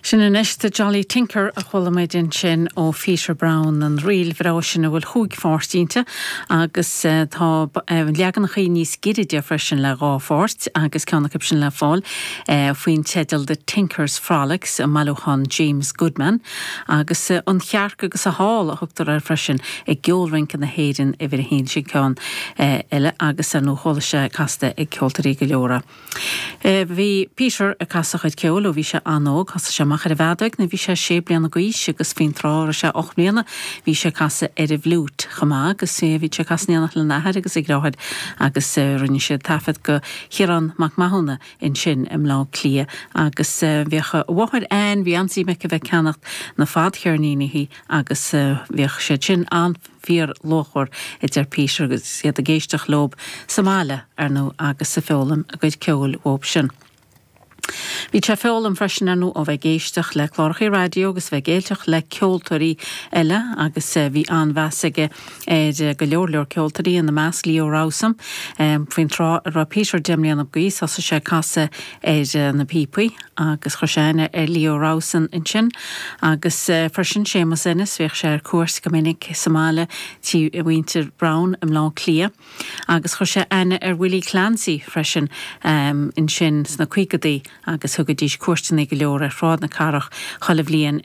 Sin anois The Jolly Tinker a chuala muid ansin ó Pheter Brown, an ríl bhreá sin a bhfuil chúig pháirt inti agus tá leaganachaí níos giorra de freisin le dhá pháirt agus ceann acu sin le fáil faoin teideal The Tinker's Frolics i mbailiúchán James Goodman agus An Chearc agus a hÁl a thugtar air freisin i gCeol-Rince na hÉireann uimhir a haon, sin ceann eile agus ar ndóigh chuala sé casta ag ceoltóirí go leor é. Bhí Peter ag casadh a chuid ceoil ó bhí sé an-óg. Thosaigh sé amach ar an bhfeadóig nuair a bhí sé sé bliana d'aois agus faoin tráth a raibh sé 8 mbliana bhí sé ag casadh ar an bhfliúit chomh maith agus bhí sé ag casadh in éineacht lena athair agus a dheartháir agus rinne siad taifead do Chiarán Mac Mathúna ansin i mBleá Cliath agus bhíodh a mháthair Ann, bhí an-suim aici a bheith ag ceannacht na fadcheirníní agus bhíodh siad sin an. fíor luachmhar, a deir Peter agus iad ag éisteacht leob sa mbaile, ar ndóigh, agus ag foghlaim a gcuid ceoil uathub sin. Bhí sé ag foghlaim freisin, ar ndóigh, ó bheith ag éisteacht le clárachaí raidió agus bheith ag éisteacht le ceoltóirí eile agus bhí an-mheas aige ar go leor leor ceoltóirí, ina measc Leo Rowsome. Faoin tráth a raibh Peter 10 mbliana d'aois thosaigh sé ag casadh ar na píopaí. agus chuir sé aithne ar Leo Rowsome ansin agus freisin Séamus Ennis, bhíodh sé ar cuairt go minic sa mbaile tí mhuintir Brown i mBleá Cliath agus chuir sé aithne ar Willie Clancy freisin ansin sna caogadaí agus thugaidís cuairteanna go leor ar Shráid na Cathrach chuile bhliain.